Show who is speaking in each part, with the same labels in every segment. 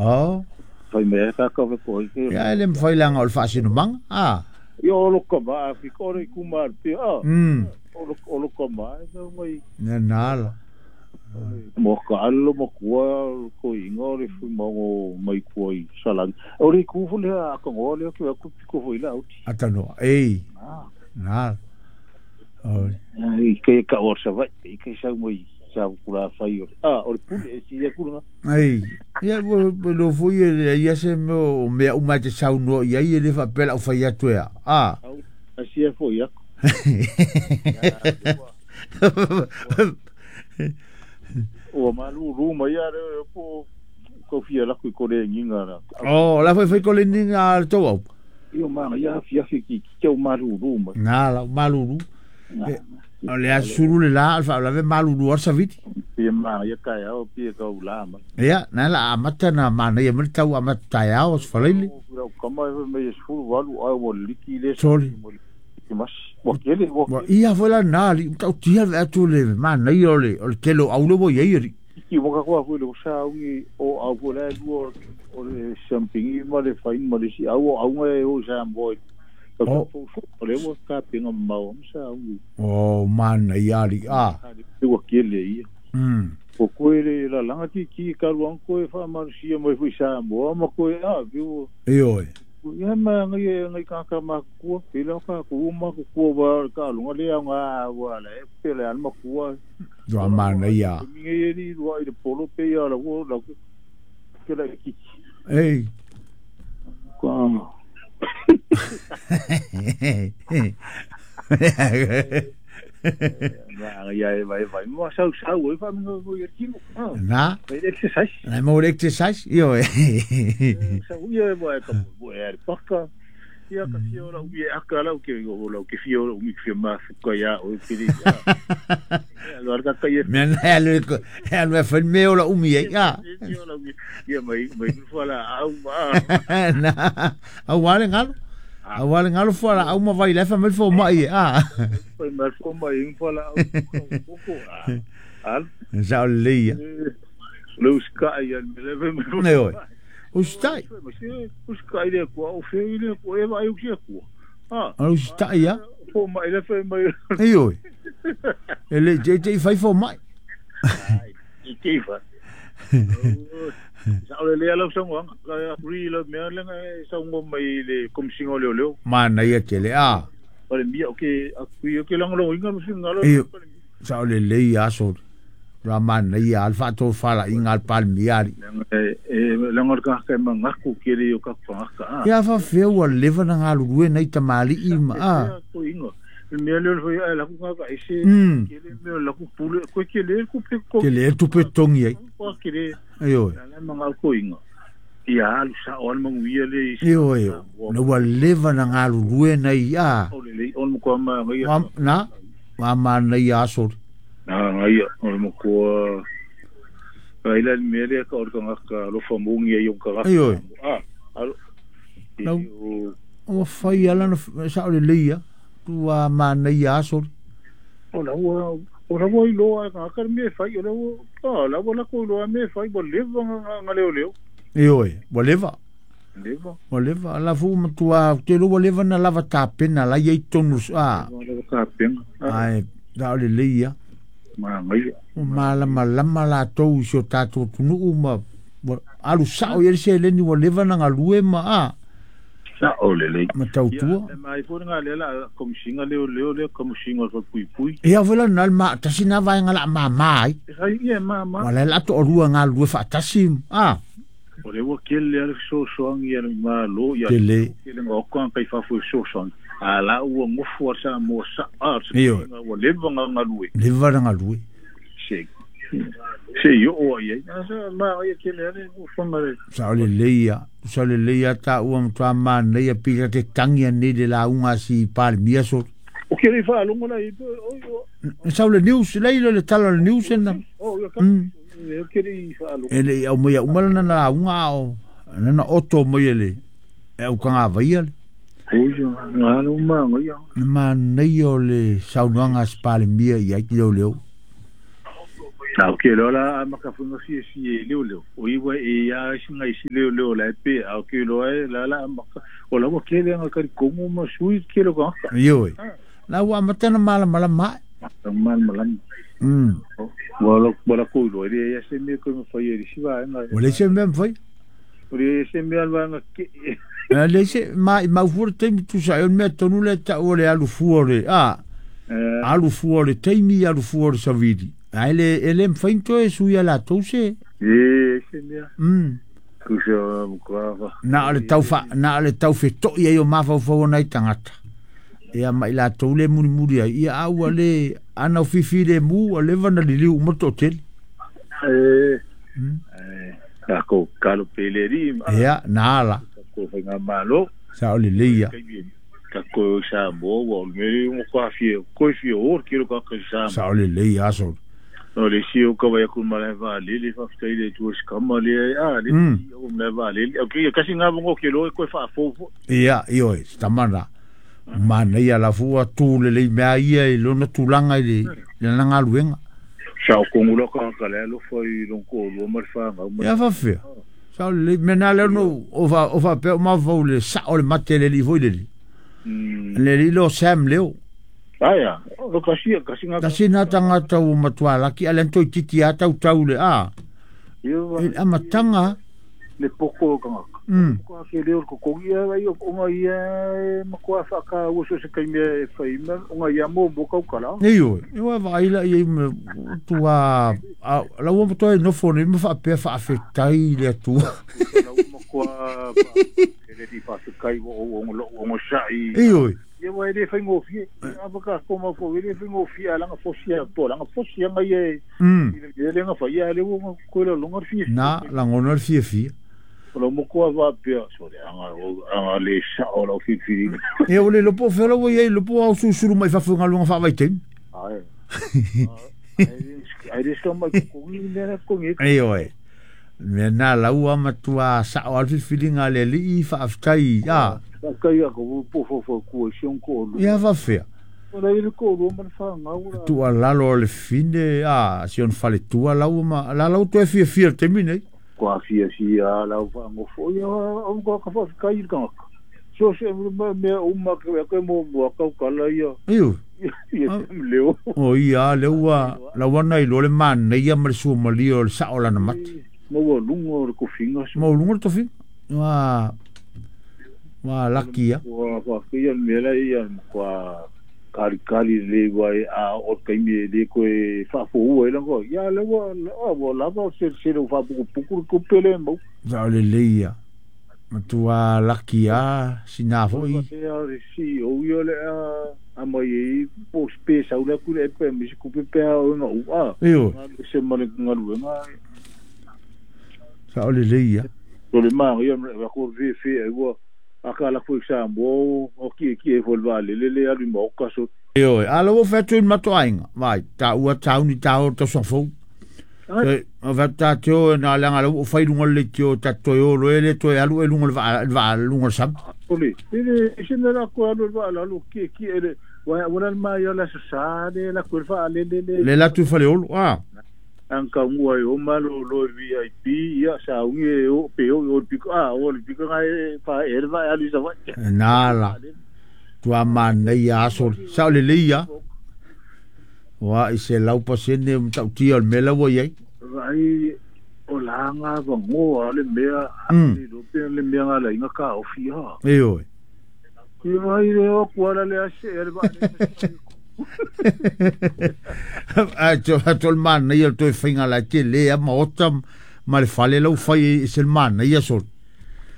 Speaker 1: Oh.
Speaker 2: Fai mea ka ka ko i.
Speaker 1: Ia ele mfai langa o le faasinumaga a.
Speaker 2: Ia o lo kama a fi ko le kuma pe a. O lo kama e no mai.
Speaker 1: Na nala.
Speaker 2: Mo ka alo mo kua ko inga o le fui mo mai kua i salang. O le ku fu le a ka ngo le ko ku ko fu ila uti.
Speaker 1: Atano. Ei. Na. O.
Speaker 2: I ke ka o sa vai i ke sa mo i sa kula fai o. Ah, o le pule e si ia kula.
Speaker 1: Ei. Ia lo fu ia ia se mo mea uma te saunoa ia ia le fa pela o fai atu ia. Ah.
Speaker 2: A si ia fo ia. Ua malulu mai ia le po ko fia la ko le nginga la.
Speaker 1: Oh, la foi ko le nginga to au.
Speaker 2: Io ma ia fia fi ki ki o malulu mai.
Speaker 1: Na la malulu. O le asuru le la alfa la ve malulu ar saviti.
Speaker 2: Pia ma ia ka ia o pia ka ula ma.
Speaker 1: Ia, na la amata na mana ia mta u amata ya o sfalili.
Speaker 2: O kama e me sfulu walu ai wo liki le.
Speaker 1: Sorry.
Speaker 2: Mas wa kele wa
Speaker 1: ia vola na li tau tia ve atu le mana ia o le telo au le wo ia ri.
Speaker 2: Ki waka kwa fu le sa u o au ko le lu o le sampingi ma le fain ma le si au au ngai o sa mbo. O le wo ka pinga mau sa u.
Speaker 1: O mana ia li a.
Speaker 2: Wa kele ia. O koe le la langa ki ki ka luang koe fa ma si mo fu sa mbo ma koe a vi o.
Speaker 1: E oi.
Speaker 2: Ia ma ngai ngai ka ka ma ku pe la ka ku ma ku ku wa ka lunga le nga wa le pe le al ma ku
Speaker 1: do ma na ia
Speaker 2: ngai ri ro i polo pe ia la wo la ke la ki
Speaker 1: ei
Speaker 2: ka ma ia e vai vai mo sau sau e fa mo mo ia ki
Speaker 1: na
Speaker 2: exercise
Speaker 1: na mo exercise io e
Speaker 2: sau ia vai ka mo e paka ia ka fio la ui aka la ke o la ke fio o mi fio ma ka ia o ke ri ia lo ka ka ia
Speaker 1: me na le ko e lo fa me o la umi ia
Speaker 2: ia mai mai fo la au ma
Speaker 1: na au wale ngalo au wale ngalo fo la au ma vai le fa me fo mai a
Speaker 2: foi ma fo mai fo la au ko al
Speaker 1: sa le ia
Speaker 2: lo ska ia me le me
Speaker 1: ne oi ustai
Speaker 2: uskai le ko o fe le ko e vai o ke ko ah
Speaker 1: ustai ia
Speaker 2: fo mai le fe mai
Speaker 1: ei oi ele je fai fo mai
Speaker 2: i ke fa sa le le la songo ka ri le me le songo mai le komsingo le le
Speaker 1: mana ia tele a
Speaker 2: o le mia o ke a ku o ke lang lo inga mo singa lo
Speaker 1: sa le le ia so Ramana ia alfa to fala inga palmiari
Speaker 2: e lango ka ka mangaku ke le o ka ka
Speaker 1: ia fa feu a leva na ngalu rue nei tamali i ma a
Speaker 2: ko inga me le foi a la ku ka ese ke le me la ku pule ko ke le ku pe ko
Speaker 1: ke le tu pe tongi ai
Speaker 2: ko ke le
Speaker 1: ayo
Speaker 2: la manga ko inga ia alu sa o mangu ia le
Speaker 1: io io no wa leva na ngalu rue nei a
Speaker 2: o le on ko ma
Speaker 1: ngai na ma ma nei a so
Speaker 2: na ngai o mo ko ai la me le ka o ka ka lo fa mungi ai o ka
Speaker 1: ayo
Speaker 2: a
Speaker 1: no o fai ala no sa o le ia tu a ma nei a so
Speaker 2: o la o la lo a ka me fai o la o la la ko lo me fai bo le nga le le
Speaker 1: io e bo leva
Speaker 2: leva
Speaker 1: bo leva la fu ma tu a te lo bo leva na lava tapena la ia tonu a
Speaker 2: lava tapena
Speaker 1: ai da le le ia
Speaker 2: ma ngai
Speaker 1: ma la ma la ma la tou so tatu tunu ma alu sao ia se le ni wo leva na ngalue ma a
Speaker 2: sa o le le
Speaker 1: ma tau tua
Speaker 2: ma i fo nga le la komisinga le le le komisinga fo pui pui
Speaker 1: ia vela na ma tasina vai ngala ma mai
Speaker 2: ai ia ma ma
Speaker 1: wala la to rua ngalue fa tasi a
Speaker 2: o le wo kele ale so so ngi ia ma lo ia
Speaker 1: kele
Speaker 2: ngo ko kai fa fu so so a la ua ngofu sa mo sa a ua leva ngalue
Speaker 1: leva ngalue
Speaker 2: se se yo o ia sa ma ia kele ale o fanga le
Speaker 1: sa le leia sa le leia ta ua mtua ma nei pila te tangi nei le la unga si palmia so
Speaker 2: o kele fa longo la i o
Speaker 1: sa le news le le tala le news na
Speaker 2: o yo kele fa longo
Speaker 1: ele au mai umala na la unga o na oto mai ele e au kanga vaia le
Speaker 2: Oio, ngā ma ngai.
Speaker 1: Ma nei o le saunoaga a se Palemia i ai ki leo leo.
Speaker 2: Na o ke lola a makafunga fia fia leo leo. O iwa e ia singa isi leo leo la pe a ke loa e la la maka. O la wa kele nga kari kongo ma sui ke lo ka.
Speaker 1: Ioe. La ua amata na malamalama.
Speaker 2: Mal malam. Wala wala ko lo e ia se me ko ma fai e si va nga.
Speaker 1: Ua le se mea mawhai.
Speaker 2: O le se me alwa nga ke.
Speaker 1: Le se ma i maufua le taimi tusa e o le mea tonu le tau o le alu fua o le a. Alu fua o le taimi alu fua o le savili. Ae le e le mawhai ni toe sui a latou se.
Speaker 2: E se mea. Kusa mkwawa.
Speaker 1: Na o le tau fa na o le tau feto'i ai o mafaufau o nai tagata. Ia ma i latou le mulimuli ai ia a ua le ana o fifi le mu ua leva na liliu uma le toatele.
Speaker 2: E Kako kalo pele ri.
Speaker 1: Ia na ala.
Speaker 2: Ko whainga malo.
Speaker 1: Sa o le leia.
Speaker 2: Kako sa mo wa me mo kwa fie ko fie o ki ro ka sa.
Speaker 1: Sa o le leia aso.
Speaker 2: O le si o ka vai ku mala va le le fa ftai le tu skama le a le o me va le o ki kasi nga bongo ke lo ko fa fo.
Speaker 1: Ia ioe tamana. Mana ia la fua tu le le mea ia i lona tulaga i le lana galuega.
Speaker 2: Sa o kongu ka ka le lo fa i lon ko lo ma fa nga.
Speaker 1: Ia fa fea. Sa le mea na le no o fa pe o mafau le sa o le mate le li foi le li. Le li lo Sam leo.
Speaker 2: Aia, o kasi kasi nga.
Speaker 1: Kasi na tangata ua matua laki ale toi titi a tau tau le a. E amatanga
Speaker 2: le poko ka. Ko ke leo ko ko ia ai o nga ia ma ko fa ka o so se kai me fa ma o nga ia mo mo ka kala.
Speaker 1: Nei o, e wa vai la ia me tua la ua toe no fone ma fa pe fa afetai le atua.
Speaker 2: La ua ko le di fa se kai o o lo o sai.
Speaker 1: Ei oi.
Speaker 2: Ia wa le fa ngo fi. A ba ka ko ma fo le fa ngo fi ala nga fosia to la nga fosia nga ye. Le nga fa ia le o ko le longa fi.
Speaker 1: Na la ngono fi fi.
Speaker 2: O lo mo ko va pe so le anga le sa o lo fi fi.
Speaker 1: E o le lopo fela o ia lopo au susuru mai fa funga lunga fa vai tem.
Speaker 2: Ai. Ai ai sto mai ko ni ne ko ni.
Speaker 1: Ei oi. Me na la ua matua sa o al filinga le li fa aftai a.
Speaker 2: Ka ia ko po fo fo ko si on ko lu.
Speaker 1: Ia fa fea.
Speaker 2: O la ile ko lu ma fa nga ura.
Speaker 1: Tua lalo le fine a si on fale tua la ma la la to fi fi te mine.
Speaker 2: Ko a fia si a la fa ngo fo ia o ko ka fa ka i ka. So se me o ma ko mo mo ka ka la ia.
Speaker 1: Iu.
Speaker 2: Ia leo.
Speaker 1: O ia le ua la wana i lo le man nei ia ma su ma li o sa o la na mat.
Speaker 2: Mo wo lungo ko finga.
Speaker 1: Mo lungo to fi. Wa wa lakia.
Speaker 2: Wa wa ia me la ia kwa kari kari le wai a o kai me le ko e fa fo o e lango ia le wa wa la va se se lo fa puku puku ko pele mo.
Speaker 1: Sa le leia. Matua lakia sina foi.
Speaker 2: Ia si o ia le a mai e po space au la ku le pe mi ku pe pe o no a.
Speaker 1: Io.
Speaker 2: Se mo le ngalu nga.
Speaker 1: Sa le leia.
Speaker 2: O le ma ia wa ko vi fi e wa aka la ku sa mo o ki ki e volva le le le alu mo ka so.
Speaker 1: Io ala o fetu matoainga vai ta ua tau ni tau to so fo. E o va ta teo na la ngala o fai lunga le teo ta toyo lo ele to alu e lunga va va lunga sam.
Speaker 2: Ole ele se na la ko alu va la lo ki ki ele wa wala ma yo la sa le la ko fa le le
Speaker 1: le la tu fa le olo a.
Speaker 2: Anka ngua o malo lo VIP ia sa unge o pe o o piko a o le piko ngai fa erva alu sa va.
Speaker 1: Na la tua mana ia aso sa le leia. Wa i se lau pasene mtautia o le mela ua iai.
Speaker 2: Vai o la nga va ngoa le mea le lo pe le mea nga la inga ka o fia.
Speaker 1: Ei oi.
Speaker 2: Ki vai le o kuala le ase erva.
Speaker 1: A to le mana ia toe fainga la te le a maota ma le fale lau fai e se le mana ia sol.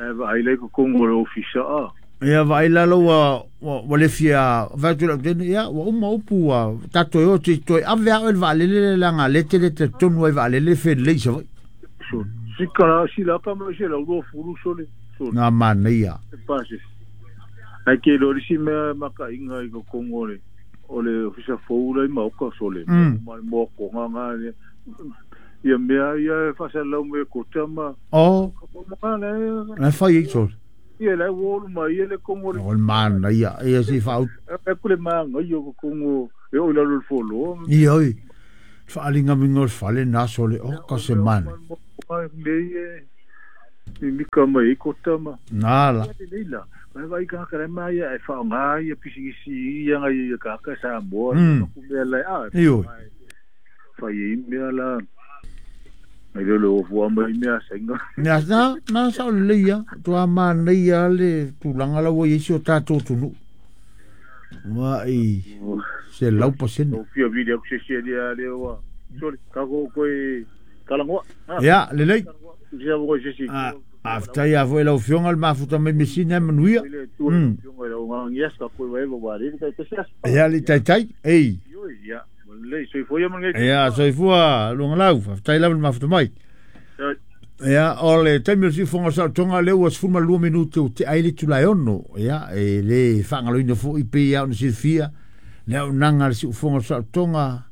Speaker 2: E vai le ko kongo le ofisa a.
Speaker 1: Ia vai la lau ua le fia vatu lau tene ia ua uma upu ua tato e o te toe ave ao e le vaalele le langa le te le te tonu ai vaalele fe lei sa vai.
Speaker 2: So, si kala si la ka mo se la uro furu sole.
Speaker 1: Ngā mana ia.
Speaker 2: E pase. Ai ke lori si mea maka inga i ko kongo le. O le ofisa foula i maoka sole. Ma mo ko nga nga ia mea ia fa sa lau me ko tama.
Speaker 1: Oh.
Speaker 2: Ma le.
Speaker 1: Na fai i sol.
Speaker 2: Ia le wolu ma ia le kongo.
Speaker 1: O le mana ia ia si fa.
Speaker 2: E ku le ma nga ia ko kongo e o la lo folo.
Speaker 1: Ia oi. Faaligamiga o le fale na sole o ka se mane.
Speaker 2: Lei e mika mai ai kota ma.
Speaker 1: Nala.
Speaker 2: Lei la. Vai vai ka ka mai e whaonga ia pisigisi ia ngai ia ka Samoa ku mea lai a.
Speaker 1: Io.
Speaker 2: Whai i mea la. Mai le o fua mai mea sainga.
Speaker 1: Na na na sa o le ia tua ma nei ia le tulaga la ua i ai si o tatou atunuu. Ua i se lau pasene.
Speaker 2: O fia vili aku se sia lia le wa. Sorry, ka ko koe kalangoa.
Speaker 1: Ia, lelei.
Speaker 2: Sia mo se si.
Speaker 1: A ftai a foi lau fionga le mafuta mai mesina e manuia. Ia li taitai. Ei.
Speaker 2: Ia, lelei soifua ia mangai.
Speaker 1: Ia, soifua luga lau, faafetai lava le mafuta mai. Ia, o le taimi o le siufoga o le saolotoga lea ua 12 minute o te ai le itula e 6. Ia, e le faagaloina foi pei lava ona silafia le auaunaga a le siufoga o le saolotoga.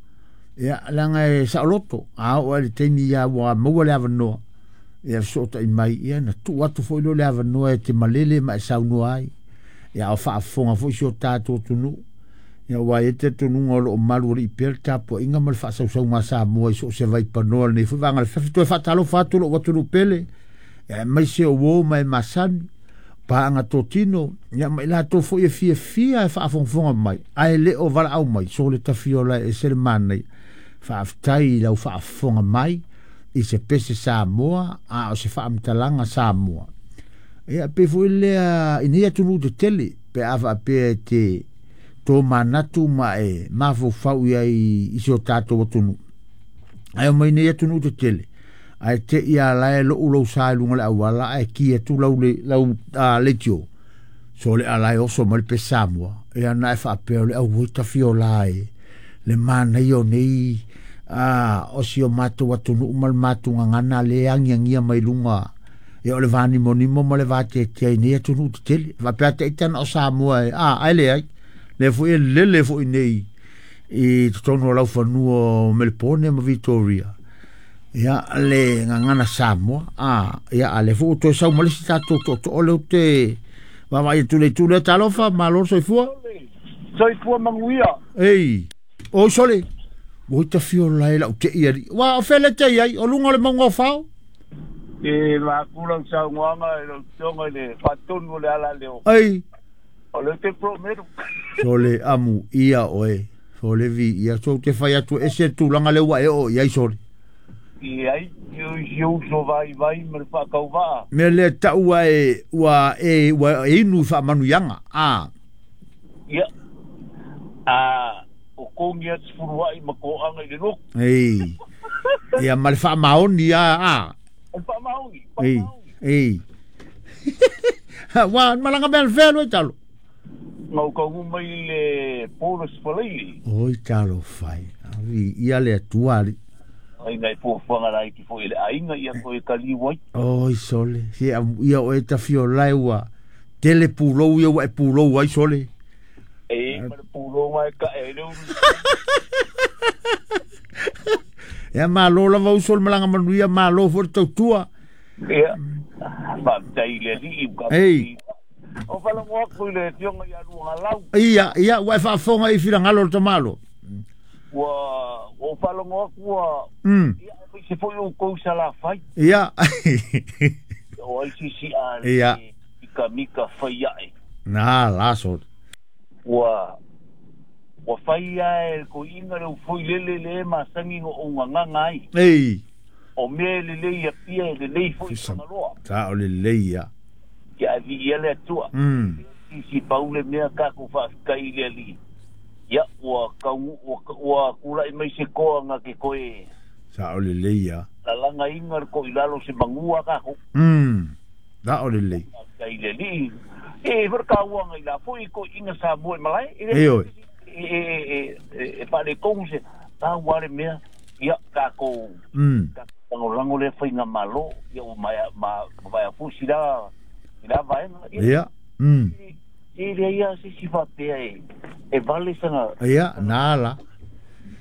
Speaker 1: Ia, leaga e saoloto, a oo lava i le taimi ia ua maua le avanoa, ia fesootai mai, ia na tuu atu foi lea o le avanoa e te malele ma e saunoa ai. Ia, a o faafofoga foi si o tatou atunuu. Ia, aua e i ai le talitonuga o lo o malualii pea le tapuaiga ma le faasausauga a Samoa i so o se vaipanoa o lenei foi vaega o le afiafi. Toe faatalofa atu lou atunuu pele, ia, aemaise o uo ma e masani, paaga totino, ia, ma i latou foi e fiafia e faafogafoga mai, ae le o valaau mai, so le tafiola e ese le manaia. Faafetai i lau faafofoga mai i se pese Samoa, a o se faamatalaga Samoa. Ia, pei foi lea i nei atunuu tetele, pe a faapea e te tō manatu ma e mafaufau i ai i si o tatou atunuu. Ae o mai nei atunuu tetele, ae te i a lae lou lou sa i luga o le auala ae ki atu lau le, lau leitio. So le alae oso mai le pese Samoa. Ia na e faapea o le auoi tafiola e le manaia o nei o si o matou atunuu ma le matou gagana le agiagia mai luga. Ia o le vanimonimo ma le vateatea i nei atunuu tetele. Faapea te ita na o Samoa e, ae leai. Lea foi e lele foi nei i totonu o laufanua o Melepone ma Victoria. Ia le gagana Samoa. Ia a lea foi ua toe sau ma le isi tatou tootoo lea ou te vaavaai atu i le itu lea. Talofa, malo le soifua.
Speaker 3: Soifua manuia.
Speaker 1: Ei, oi sole. Oi tafiola e lau te i ali. Ua o fele te i ai, o luga o le maunga o Fao.
Speaker 3: E vaku lau saunoaga i lau afioga i le faatonu o le ala leo.
Speaker 1: Ei.
Speaker 3: O le te promeru.
Speaker 1: Sole amu ia oe. Sole vi ia. So te fai atu ese le tulaga lea ua e oo i ai sole.
Speaker 3: I ai, i si uso vai vai ma le faakauvaa.
Speaker 1: Mea lea tau ua e, ua e, ua e inu i faamanuiaga. A.
Speaker 3: Ia. A, o kongi atu fuluai ma koaga i le lotu.
Speaker 1: Ei. Ia ma le faamaoni a, a.
Speaker 3: O le faamaoni,
Speaker 1: Ei,
Speaker 3: faamaoni.
Speaker 1: ei. Ua malaga mea le fea lua talo.
Speaker 3: Ngau kaungu mai le Paulus Faleili.
Speaker 1: Oi talo fai. Avi ia le atua ali.
Speaker 3: Ai nai fuafuaga laiti foi i le aiga ia koe kaliu ai.
Speaker 1: Oi sole. Si ia oe tafiolae ua tele pulou ia ua e pulou ai sole.
Speaker 3: E ma le pulou mai ka e le ulu.
Speaker 1: Ia malo lava uso le malaga manuia, malo foi le tautua.
Speaker 3: Ia, faafetai i le alii ka.
Speaker 1: Ei.
Speaker 3: O faalogo atu i le afioga ia Luagalau.
Speaker 1: Ia, ia, ua e faafofoga i finagalo o le tamalo.
Speaker 3: Ua o faalogo atu ua ia aemaise foi outou i Salafai.
Speaker 1: Ia.
Speaker 3: O ai sisi a
Speaker 1: Ia.
Speaker 3: le mika mika fai ae.
Speaker 1: Na la sole.
Speaker 3: Ua ua fai ae le toeaina le ufoi lele le masani na ou gagaga ai.
Speaker 1: Ei.
Speaker 3: O mea e lelei ia pia e lelei foi i
Speaker 1: Fisa.
Speaker 3: Fagaloa.
Speaker 1: Ta o lelei ia.
Speaker 3: Ia e viia le Atua. Sisi pau le mea tatou faafetai i le alii. Ia ua kau ua, ua tulai mai se toa na te toe
Speaker 1: Sa o lelei ia.
Speaker 3: lalagaina le toilalo se magua tatou.
Speaker 1: Ta o lelei.
Speaker 3: Faafetai i le alii. E foi le kauaga i la foi toeaina Samoa i malae. E
Speaker 1: Ei oi.
Speaker 3: e e e e faaletonu se tau lava le mea. Ia tatou lagolago lea faiga malo. Ia ua maea ma maea foi sila sila vaega. Ia
Speaker 1: Ia.
Speaker 3: e leai lava se isi faapea e e vale sana.
Speaker 1: Ia, na la.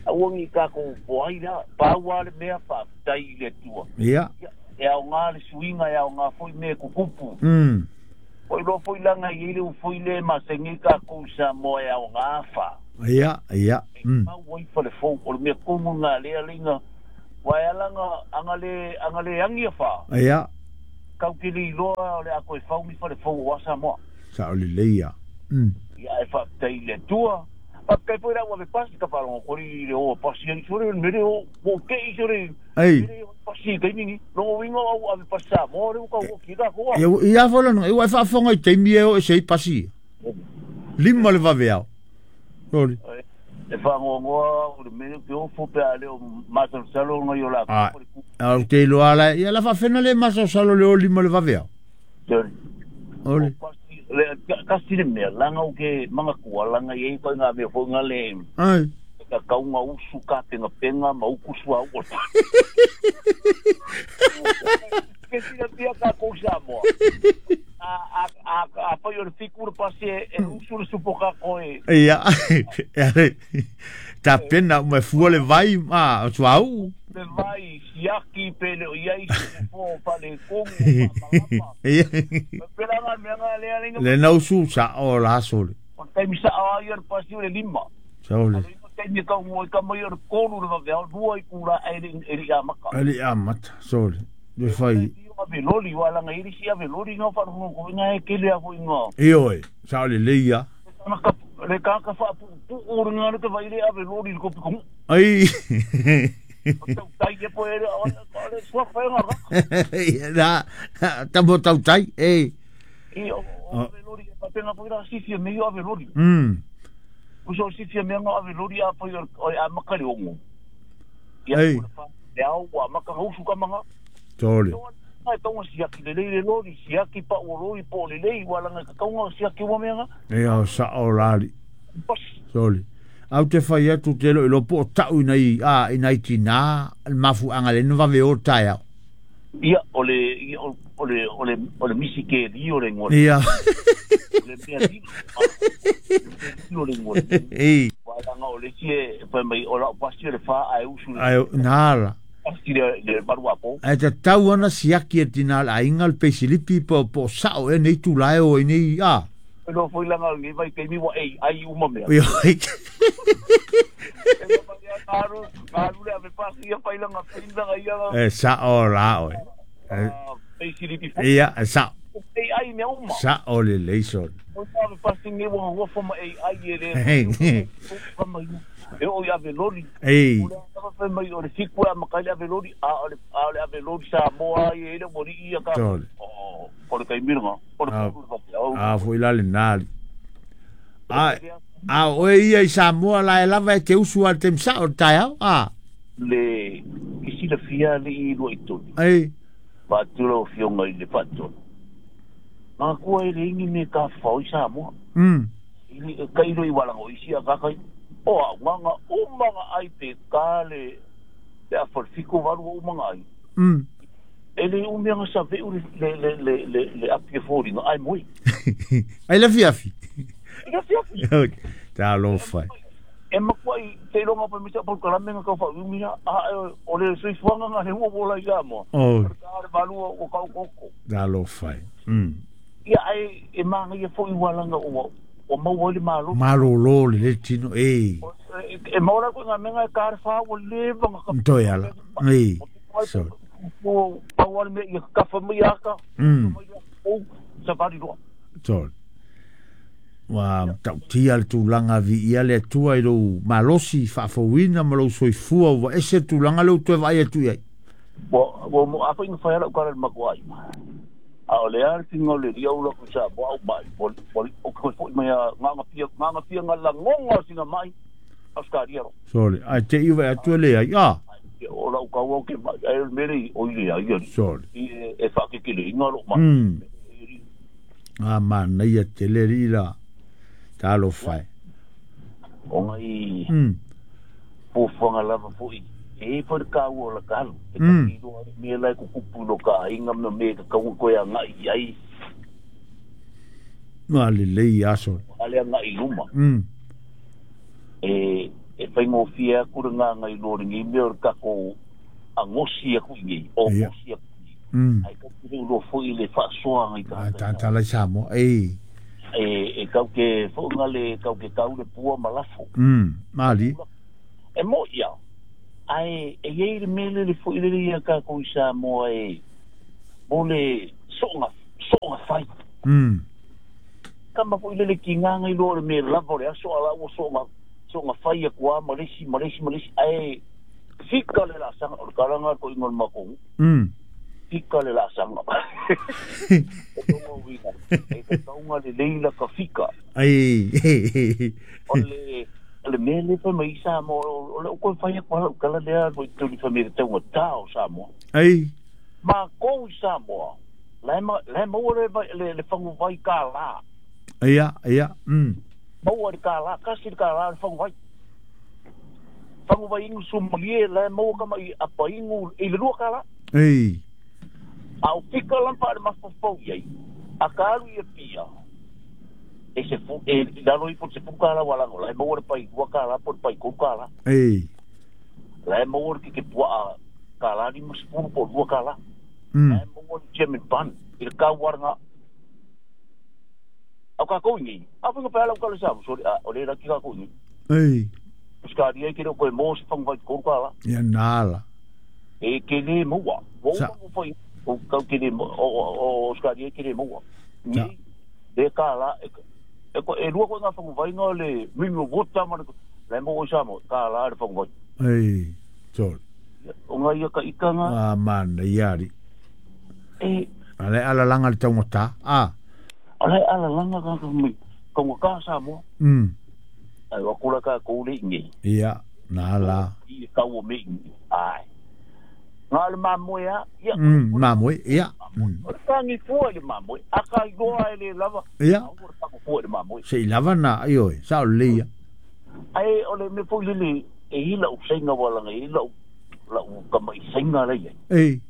Speaker 3: Aua ni tatou poai la. Pau lava le mea faafetai i le Atua.
Speaker 1: Ia.
Speaker 3: Ia e aoga le suiga e aoga foi mea e kukupu. O iloa foi laga i ai le ufoi le masani tatou i Samoa e aoga fa.
Speaker 1: Ia, ia.
Speaker 3: Mau ai fale fou, o le mea tonu lena lea leiga, aua e ala aga le, aga le agi afa.
Speaker 1: Ia.
Speaker 3: Kau te le iloa o le a toe fau ni fale fou aua Samoa.
Speaker 1: Sao lelei ia.
Speaker 3: Ia ae faafetai i le Atua. Faafetai foi la ua ave pasi ka faalogo atu ai i le o a pasi ai sole le mele o ua ou tei sole
Speaker 1: Ei.
Speaker 3: mele o pasi i taimi ni. Lona uiga o au ave pasi Samoa lea ua tau oti ai tatou a.
Speaker 1: Ia, ia foi lona, ua e faafofoga i taimi e o ese ai pasi ia. 5 le vaveao. Sole.
Speaker 3: E faanoanoa au i le mea lea ou te ofo pe a le o masalosalo nai o latou
Speaker 1: A,
Speaker 3: faletu.
Speaker 1: a ou te iloa la, ia la faafena le masalosalo le o 5 le vaveao.
Speaker 3: Sole.
Speaker 1: Ole.
Speaker 3: O pasi, le, tasi le mea, langa ou te manatua, langa i ai koe ngā mea foi ngā le,
Speaker 1: Ai.
Speaker 3: ka kaunga usu, ka pengapenga, ma uku sua u o le Ke silafia takou Samoa, a, a, a, a fai o le fiku le pasi e, e usu le supo kako e.
Speaker 1: Ia, e tapena uma e fua le vai ma o suauu.
Speaker 3: Le vai, siaki pe le o i ai se fofo o faaletonu o faamalama.
Speaker 1: Ia.
Speaker 3: Pela ngā mea ngā lea lenga.
Speaker 1: Le na usu sa o la sole.
Speaker 3: O le taimi sao ai o le pasi o le 5.
Speaker 1: Sole.
Speaker 3: A le taimi e tau mua i ka mai o le 3 le vaveao, 2 i kula e le, e le amata.
Speaker 1: E le amata, sole. Le fai.
Speaker 3: Ave loli, wa langa i si ave loli ngā wharuhunga ko ngā e kele a foi ngā.
Speaker 1: Ioe, sao le leia.
Speaker 3: Le kaka whaapu o le ngā le te vai le ave loli le kopi kongu.
Speaker 1: Ai.
Speaker 3: O tau tai e po e le, o le sua whai ngā raka.
Speaker 1: Na, tamo tau tai, e.
Speaker 3: I, o ave loli, e papenga po i la sifia me i o ave loli. Uso sifia me ngā ave loli a pai o a maka le ongo. Ia,
Speaker 1: Ei.
Speaker 3: o le wha, le au, a maka ngausu ka manga.
Speaker 1: Tole.
Speaker 3: Ai tonga siaki le lei le loli, siaki pa o loli po le lei, wala nga kaunga siaki ua mea nga.
Speaker 1: E au sa o lali.
Speaker 3: Pas.
Speaker 1: Sole. Au te whai atu te lo ilo po o tau inai, a, inai tina, mafu anga le nwa o tai au.
Speaker 3: Ia, o le, ia, o le, o le, o le misi ke li o le ngore.
Speaker 1: Ia.
Speaker 3: O le mea li, o le ngore.
Speaker 1: Ei.
Speaker 3: Wala nga o le si e, whai mai, o la o pasi o le wha ai usu le.
Speaker 1: Ai, nala.
Speaker 3: Pasi le, le marua po.
Speaker 1: Ai te tau ana siaki e tina la inga le peisilipi po, po sao e nei tulae o e nei, a.
Speaker 3: Lo foi langa ngi vai ke mi wa ei ai uma mea.
Speaker 1: Ia,
Speaker 3: E ngaru, ngaru le ave pasi ia fai langa pinda ia.
Speaker 1: E sa o la oe.
Speaker 3: Peisilipi fo.
Speaker 1: Ia, e sa.
Speaker 3: Ei ai mea uma.
Speaker 1: Sa o le leison.
Speaker 3: O ave pasi ngi wa wa fo ma ei ai e le. E o ia ave loli.
Speaker 1: Ei.
Speaker 3: O le ave mai o le fiku a makai le ave loli a o le a le ave loli sa moa i e le mori ia ka.
Speaker 1: Tole.
Speaker 3: O o le kai miranga. O le
Speaker 1: A foi la le nali. A a o ia i Samoa la e lava e te usu al temsa o tai au. A.
Speaker 3: Le isi le fia le i lua i tonu.
Speaker 1: Ei.
Speaker 3: Whātura o fionga i le whātonu. Ngā kua e le ingi me ka whao i Samoa. I kairo i walango isi a kakai. O a nganga umanga ai pe ka le le a whalfiko waru o umanga ai. E le umianga sa veu le le le le le le api e fōringa ai moi.
Speaker 1: Ai le fiafi.
Speaker 3: I le fiafi.
Speaker 1: Tā lo whai.
Speaker 3: E makua i te ronga pa misa pa kalamenga ka wha umina a o le soifuanga ngā he ua wola i Samoa.
Speaker 1: O.
Speaker 3: Ka le valua o kau koko.
Speaker 1: Tā lo whai.
Speaker 3: Ia ai e manga ia fo i walanga o o maua le malo.
Speaker 1: Malo lo le le tino e.
Speaker 3: E maura ko ngā menga e ka wha o le vanga ka.
Speaker 1: Toi ala. E. So.
Speaker 3: O pau me ia ka wha mai aka. O sa vari roa.
Speaker 1: Toi. Wa tau tia le tulaga viia le Atua i lou malosi faafouina ma lou soifua ua ese tulaga lea ua toe vaai atu i ai.
Speaker 3: Ua ua mo afa ina fai ala ukara le makuai. A o le a le tinga o le ria ula ku sa mo au mai. O o ko foi mai a nganga pia nganga pia nga langonga o singa mai. Australia ro.
Speaker 1: Sole, ai te i vaai atu e le ai. A.
Speaker 3: O la ukau au ke mai ai le mele o i le ai.
Speaker 1: Sole.
Speaker 3: I e whakekele inga lo mai.
Speaker 1: A manaia tele ri la. Talo fai.
Speaker 3: O ngai pōwhanga lava foi. E foi ka ua la kalu. E ka kilo ai me lai ku kupu lo ka inga me me ka kaunga koe a ngai ai.
Speaker 1: Nā le lei aso.
Speaker 3: Ale a ngai luma. E e whai ngōwhia aku re ngā ngai lori ngi mea o kako a ngosi aku i ngi. O ngosi aku i ngi. Ai ka kure ulo foi le whaasoa ngai
Speaker 1: ka. Ai tāntala i Samoa. Ei.
Speaker 3: E kau ke fu'unga le kau ke kau le pua ma lafo.
Speaker 1: Mali.
Speaker 3: E mo ia. Ai e iei le mele le fo'i le ia ka ko i Samoa e mo le so'oga fai. Kama fo'i le le ki nganga i loa le me lava o le aso ala ua so'oga fai a kua ma lesi ma lesi ma lesi. Ai fika le la sanga o le kalanga ko ingo le makongu. Fika le la sanga. E tonga uiga. E te taunga le leila ka fika.
Speaker 1: Ai.
Speaker 3: O le mea le fa mai Samoa, o le o fai ko lau kala lea mo tuli fa me taunga tao Samoa.
Speaker 1: Ai.
Speaker 3: Ma ko i Samoa. Le ma le le fangu vai ka la.
Speaker 1: Ia, ia.
Speaker 3: Maua le ka la, kasi le ka la le fangu vai. Fangu vai ingu sumalie le maua kama i apa ingu i le lua ka la.
Speaker 1: Ei.
Speaker 3: A o fika lampa le mafofou iai. A ka alu ia pia. E se fu e lalo i po se fu ka la walango la maua le pai ua ka la po le pai ko ka la.
Speaker 1: Ei.
Speaker 3: La maua le ke pua ka la ni mas fu po lua ka la. La maua le German ban i le ka waranga. Au ka ko ni. A fu pa la ka le sa so o le la ki ka ko ni.
Speaker 1: Ei.
Speaker 3: Skari e ke ro ko mo se fang vai ko ka la.
Speaker 1: Ia nala.
Speaker 3: E ke le maua. Wo mo foi o ka ke le o skari e ke le maua. Ni le ka la e ko e lua ko ngā whangu vai ngā le mimi o vota ma le mo o Samoa ka la le whangu vai.
Speaker 1: Ei, tol.
Speaker 3: O ngā ia ka ika ngā.
Speaker 1: Ah, mana, iari.
Speaker 3: E.
Speaker 1: Ale ala langa le taungata. Ah.
Speaker 3: Ale ala langa ka ka ka ngā ka Samoa. Ai wakula ka koule ingi.
Speaker 1: Ia, nā la.
Speaker 3: I ka o me ingi. Ai. Ngā le mamoe a. Ia.
Speaker 1: Mamoe, ia.
Speaker 3: O le tangi fua i le mamoe. A ka igoa e le lava.
Speaker 1: Ia.
Speaker 3: O le tangi fua i le mamoe.
Speaker 1: Se i lava nā, ioi, sa o le ia.
Speaker 3: Ai, o le me fui lele, e hila u senga walanga, e hila u kama i senga lei ai.
Speaker 1: Ei.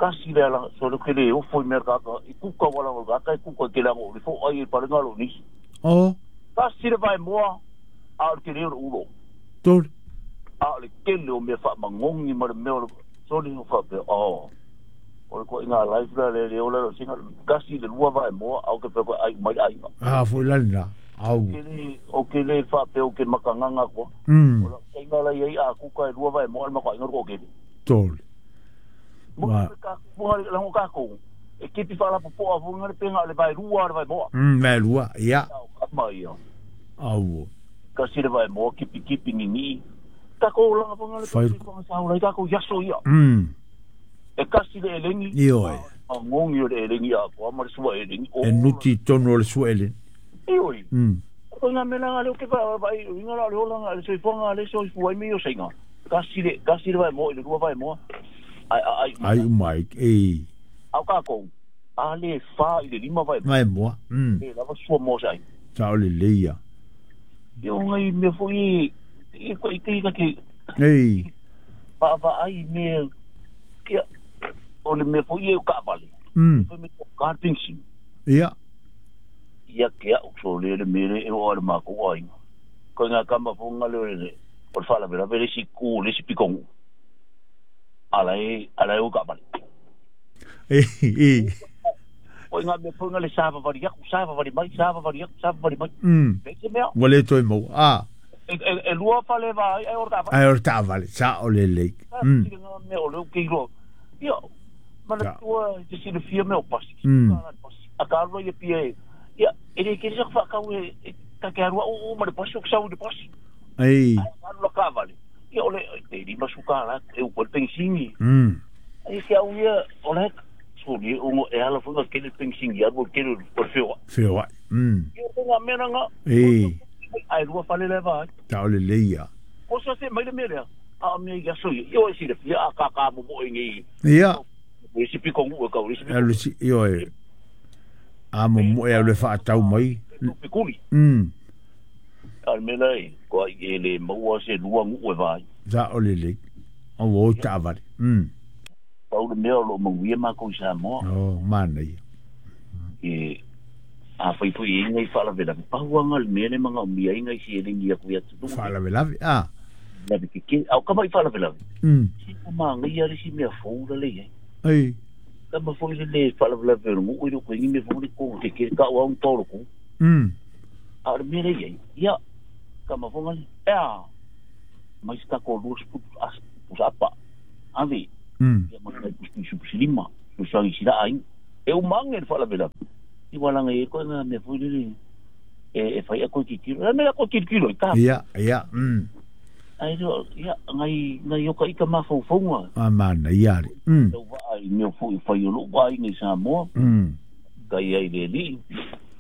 Speaker 3: Kasi le alanga, so le kele ofo i mea kaka, i kuka walanga, kaka i kuka ke lango, le fo ai e palenga lo nisi.
Speaker 1: O.
Speaker 3: Kasi le vai moa, a o le kele o le ulo.
Speaker 1: Tol.
Speaker 3: A o le kele o mea wha mangongi ma le mea o le, so le o wha pe, o. O le koe ngā life la le leo la singa kasi le lua vai moa au ke pe koe ai mai ai.
Speaker 1: Ah, foi la na. Au.
Speaker 3: O ke le fa pe o ke makanganga ko. O la singa la ia a kuka e lua vai moa ma ko inga ko ke.
Speaker 1: Tol.
Speaker 3: Mo ka mo la ngo ka ko. E kipi fa la popo a vunga le penga le vai lua le vai moa.
Speaker 1: Vai lua, ia.
Speaker 3: Ka mai ia.
Speaker 1: Au.
Speaker 3: Kasi le vai moa kipi kipi ni ni. Ka ko la vunga le pe sa o la ka ko yaso ia. E kasi le elengi.
Speaker 1: Ioi.
Speaker 3: A ngongi o le elengi a ko ama le sua elengi.
Speaker 1: E nuti tono o le sua elengi.
Speaker 3: Ioi. Ko ngā mea ngā leo ke vai, inga la leo langa le soifuanga le soifua i meo seinga. Kasi le vai moa, i le lua vai moa. Ai, ai,
Speaker 1: ai. Ai umai, e.
Speaker 3: Au ka kou, a le wha i le lima vai
Speaker 1: moa. Vai moa.
Speaker 3: E lava sua moa sai.
Speaker 1: Sa o le leia.
Speaker 3: Io ngai mea foi i ko i te ika ke.
Speaker 1: Ei.
Speaker 3: Va ai mea, kia, o le mea foi e o ka vale. Foi me ka pensi.
Speaker 1: Ia.
Speaker 3: Ia ke au so le le mere e o le mako ai. Ko ngā kama fonga le le o le fala vera le si ku le si pikongu. Ala e o ka vale.
Speaker 1: Ei ei.
Speaker 3: O ngā mea fonga le sava vari aku, sava vari mai, sava vari aku, sava vari mai. Pe mea.
Speaker 1: Wale toi mo. Ah.
Speaker 3: E lua fale vai e o ka vale.
Speaker 1: Ai o ta vale, sa o le le.
Speaker 3: Ngā mea o le ke ro. Ia. Mana tua te sila fia mea o pasi. A ka alua ia pia e. Ia, e le kere sa whakau e ka ke arua o ma le pasi o kusau i le pasi.
Speaker 1: Ei.
Speaker 3: A alua ka vale. Ia o le, te rima suka la, e upo le pensingi. Ai se au ia, o le, so ni o e ala whanga kere pensingi, aru o kere o le whioa.
Speaker 1: Whioa.
Speaker 3: Ia o ngā mea ngā.
Speaker 1: Ei.
Speaker 3: Ai rua whale le vai.
Speaker 1: Ta o le leia.
Speaker 3: O sa se mai le mea lea. A mea ia so ia, o e sila fia a kaka mo mo e ngi.
Speaker 1: Ia.
Speaker 3: Le si pikongu e kau, le si
Speaker 1: pikongu. Io e. A mo mo e le whaatau mai.
Speaker 3: Pikuli. Al mea e, koa i e le maua se lua ngu e vai.
Speaker 1: Sa o le le. O o ta vare.
Speaker 3: Pau le mea o lo mauia mako i Samoa.
Speaker 1: O, mana ia.
Speaker 3: E, a whai pui e ngai whaalavelave. Pahuanga le mea le manga o mia ingai si e lengi aku ia tunu.
Speaker 1: Whaalavelave, ah.
Speaker 3: Lave ke ke, au kama i whaalavelave. Si ma ngai a le si mea fōura le ia.
Speaker 1: Ei.
Speaker 3: Kama foi le le whaalavelave o ngu i roko ingi me fōura ko ke ke ka o aung tōro ko. A o le mea lea i ai, ia, ka mafonga le, ea, mai se tatou 20 pusa apa, ave, ia ma nai pusi pusi lima, susuagi sila ai. E umange le faalavelave. I walanga e koe ngā mea foi lele, e whai a koe titiro. E mea koe titiro i tā.
Speaker 1: Ia, ia.
Speaker 3: Ai reo, ia, ngai oka ika mawhauwhaunga.
Speaker 1: A mana, ia re.
Speaker 3: Tau waa i mea foi whai o lou ai nei Samoa. Kai ai le li.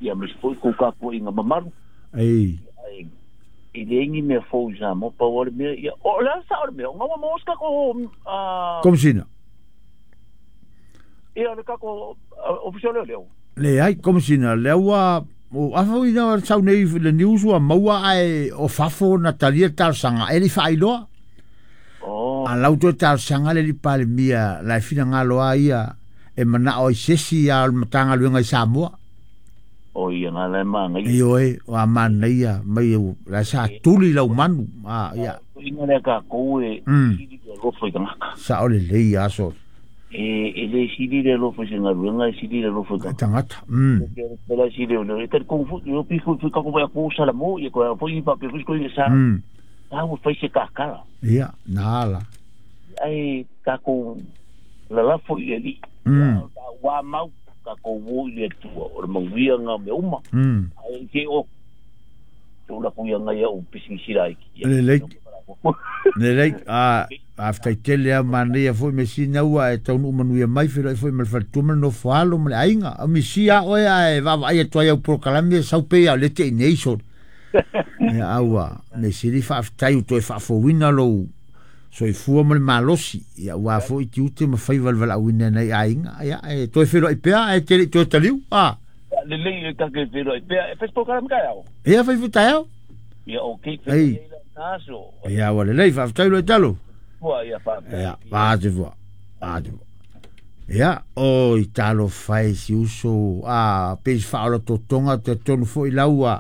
Speaker 3: Ia me foi ko ka koe i ngā mamaru.
Speaker 1: Ei.
Speaker 3: Ai, i le ingi mea fou i Samoa, pau ale mea, ia, o le asa o le mea, o ngawa mōska ko,
Speaker 1: Komisina.
Speaker 3: Ia, le kako, official leo leo.
Speaker 1: Le ai, komisina, le ua, o afa i na sau nei le news ua maua ai o fafo na talia talosaga e le faailoa.
Speaker 3: Oh.
Speaker 1: A lau toe talosaga le li palemia la e finagalo a ia e manao ai sesi a o le Matagaluega i Samoa.
Speaker 3: O ia ngā lai maangai.
Speaker 1: Ioe, o a manaia mai e la sa tuli lau manu. A ia.
Speaker 3: Inga lea kākou e sili le alofa i tagata.
Speaker 1: Sa o le lei aso.
Speaker 3: E le sili le alofa i se galuega, e sili le alofa i
Speaker 1: tagata.
Speaker 3: E la sili o le e tali kongu fu, pi fu fu kako vai ko sala mo, ia ko foi pa pe fu ko sa. Ta ua fai se kakala.
Speaker 1: Ia, nā ala.
Speaker 3: Ai kākou lalafo i le li. Wa mau kākou wo i le tua, o le manuia ngā mea uma. Ai ke o tō la kuia ngai au pisingisira ai.
Speaker 1: Le lei. Le lei, a aftai tele a manaia foi me sina ua e taunu manuia mai whiro e foi ma le whaletua no whalo ma le ainga. A misi a oe a e wawa ai atu ai au prokalame sau pe a le te i nei so. Ia aua, me siri whaaftai u toe whaafowina lou soifua ma le malosi. Ia ua foi ti ute ma whai walwala awina nei ainga. Ia e toe whiro i pea e te toe taliu. A.
Speaker 3: Le lei e kake whiro i pea. E whai prokalame kai au?
Speaker 1: Ia whai whitai au?
Speaker 3: Ia o ke whiro i naso.
Speaker 1: Ia ua le lei whaaftai lo e talo.
Speaker 3: Ia
Speaker 1: Ia, wā te fua, wā te fua. Ia, o i talo whai si uso, a peis whaola totonga te tonu foi laua,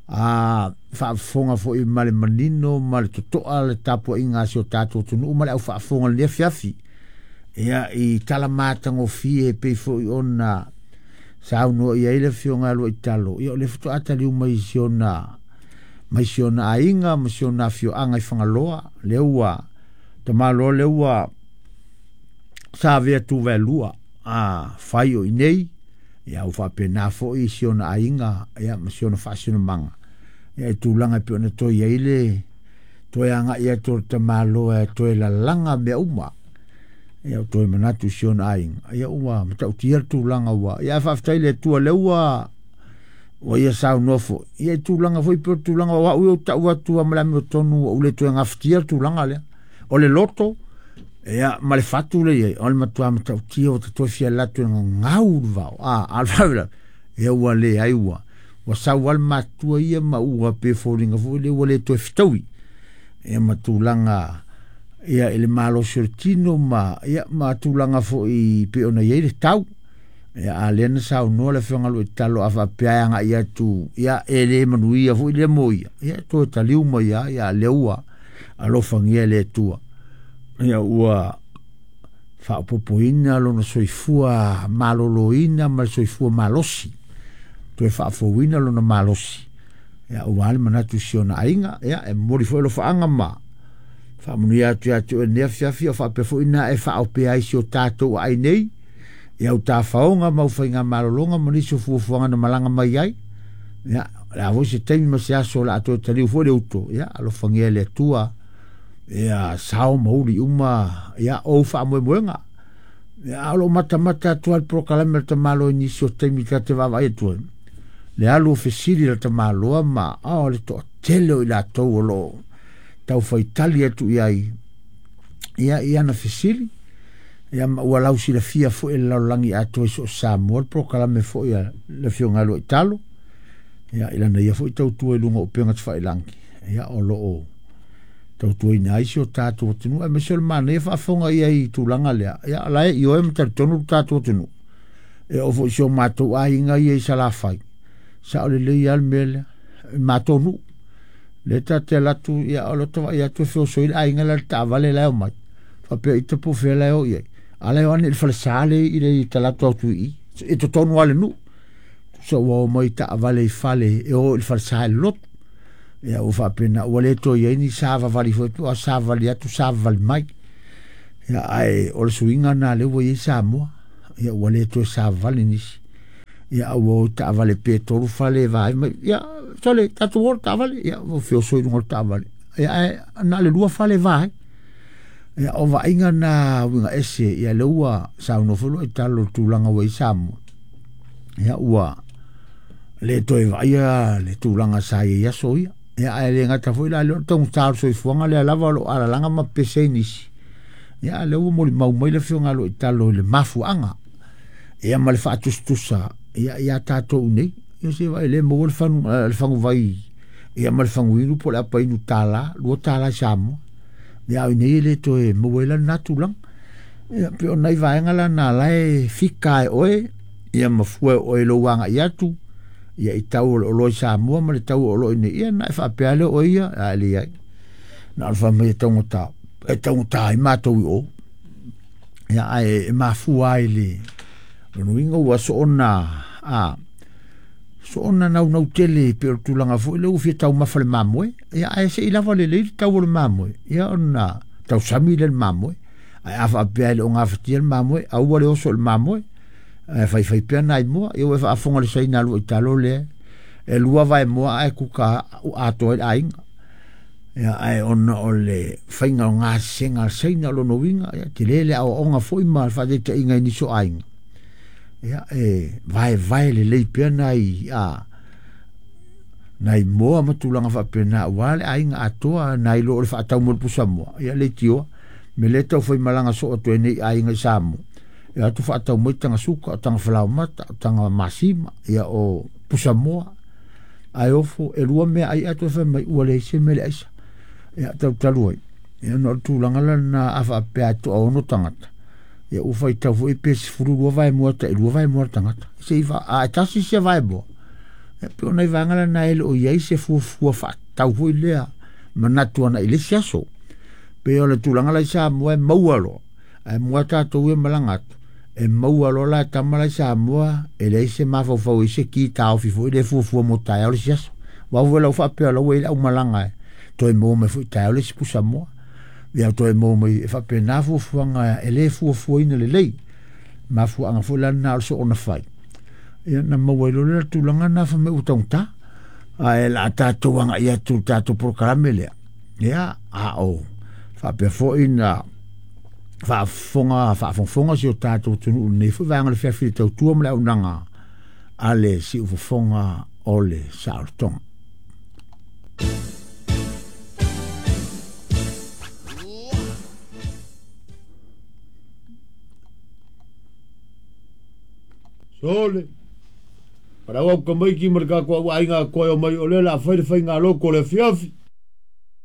Speaker 1: a whaafonga foi ma le manino, ma le totoa le tapua inga si o tātou tunu, ma le au whaafonga le fiafi. Ia, i tala mātango fie pei foi ona saunoa ia i le fionga alua i talo. Ia, o le futo atali umai si ona, mai si ona ainga, ma si ona fioanga i whangaloa, le ua, te malo le ua sa vea tu velua a whai o inei ia u whapena foi si ona ainga ia ma si ona whaasino manga ia e tūlanga pe ona toi ai le toi anga ia tō te malo e toi lalanga mea uma ia toi manatu si ona ainga ia ua matautia tūlanga ua ia whaaftai le tua le ua o ia sau nofo ia tūlanga foi pe tūlanga wa ui o tau atua malami o tonu o ule toi ngawhitia tūlanga lea o le loto ia ma le fatu le ia o le matua matautia o te toi fia latu e ngau vau a alfa ia ua le ai ua ua sau al matua ia ma ua pe fōringa foi le ua le toi fitaui ia ma tūlanga ia ele malo tino ma ia ma tūlanga foi pe ona ia le tau ia a lena sau noa le whionga lo i talo a whapea anga ia tu ia ele manuia foi le moia ia toi taliu mai ia ia le ua alofangia le tua ia ua whaapopoina lona soifua maloloina ma le soifua malosi toe whaafowina lona malosi ia ua ale manatu si ona ainga ia e mori foi lo whaanga ma whaamunia atu atu e nea fiafi o whaapefoina e whaopea ai si o tātou ai nei ia u tāwhaonga mau whainga malolonga ma nisi o fuafuanga na malanga mai ai ia la voi se taimi ma se aso la atoe taliu foi le uto ia alofangia le atua ia sao mauli uma ia o whaamoemoenga ia alo matamata atua le prokalame le tamalo i nisi o taimi ka te vava ai atua le alu o fesili le tamaloa ma o le toa tele o i latou o loo tau whaitali atu iai ia ia na fesili ia ma ua lau silafia foi le lalolagi atoa i so o Samoa le prokalame foi a le afioga lua i talo ia ilana ia foi tautua i luga o upega tafailangi ia o loo tautuaina ai si o tātou atunuu e mese o le manaia faafofoga ia i tulaga lea ia la e ioe ma talitonu le tātou atunuu e oo foi si o matou aiga ia i Salafai sa o lelei lava le mea lea e matou nuu le tate alatu ia o le tavaai atu e feosoi le aiga la le taavale la e omai faapea i tapu fea la e o i ai ala e o ane i le falesā le i le talatu atu i i e totonu lava le nuu So ua mai taavale i fale e o i le falesa i le lotu. Ia ua faapena ua le toe i ai ni savavali foi pe o savavali atu savavali mai. Ia ae o le suiga lena lea ua i ai Samoa. Ia ua le toe savavali nisi. Ia a ua o i taavale pe 3 fale e vaai mai. Ia sole tatou o i le taavale. Ia ua feoso i luga o le taavale. Ia ae na o le 2 fale e va ai. Ia o vaaiga na uiga ese. Ia lea ua saunoa foi loa i talo o le tulaga ua i ai Samoa. Ia ua le toe vaaia le tulaga sa i ai aso ia. Ia ae le gata foi la lea o le taugata o le soifuaga lea lava o lo o alalaga ma pese ai nisi. Ia lea ua molimau mai le afioga a lo Italo i le mafuaaga. Ia ma le faatusatusa ia ia tatou nei. Ia se vai le maua le faguvai ia ma le faguinu po o le apainu $1, $2 i Samoa. Ia au nei le toe maua ai la lena tulaga. Ia pe o nai vaega la na lae fika e oe ia mafua e oe lou agai atu ia i tau o le oloa i Samoa ma le tau o oloa i nei. Ia na e faapea lea oe ia a e leai. Na o le faamai e taugata, e taugata ai matou i o. Ia ae e mafua ai le lonuiga ua soona a soona naunau tele pe o le tulaga foi lea ua fia taumafa le mamoe. Ia ae se i lava lelei le tau o le mamoe. Ia ona tausami lea le mamoe. Ae a faapea i le o gafatia le mamoe, aua le oso i le mamoe. Ae faifai pea nai moa. Ia ua e faafofoga le saina alu i talo lea. E 2 vae moa ae kuka atoa i le aiga. Ia ae ona o le faiga o gasesega a le saina o lona uiga, ia tele le aoaoga foi ma le faataitaiga i nisi o aiga. Ia e vaevae lelei pea nai a nai moa ma tulaga faapena aua le aiga atoa nai lo o le faatau mo le pusamoa. Ia leitioa me le tau fai malaga soo atu ai nei aiga i Samoa. Ia atu faatau mai taga suka, o taga falaomata, o taga masima, ia o pusamoa. Ae ofo e 2 mea ai atu e fai mai ua leai se mea le aisa. Ia talu ai. Ia no le tulaga la na a faapea atu a 6 tagata. Ia ua faitau foi pe 12 vae moa ta 2 vae moa tagata. Se i fa a tasi se vae moa. Ia pe ona i vaega la na ele o iai se fuafua faatau foi lea manatu ana i le isi aso. Pe o le tulaga la i Samoa e maua loa. Ae moa tatou e malaga atu. E maua loa la tama la i Samoa e leai se mafaufau i se ki taofi foi le fuafua mo taeao le isi aso. Wau lau faapea lau e le au malaga e toe maua mai foi taeao le isi pusamoa. Ia toe maua mai e faapena fuafuaga e le fuafuaina lelei. Mafuaaga foi la na o le soona fai. Ia na maua i loa le tulaga na fa mai ua taugata. Ae la tatou agai atu le tatou polokalame lea. Ia a o faapea foi na faafogafoga si o tatou atunuu lenei foi vaega o le fiafi le tautua ma le auaunaga a le siufofoga o le saolotoga. Sole, para au ka mai ki mar ka ko ai nga ko mai o le la fai le fai nga loko le fiafi.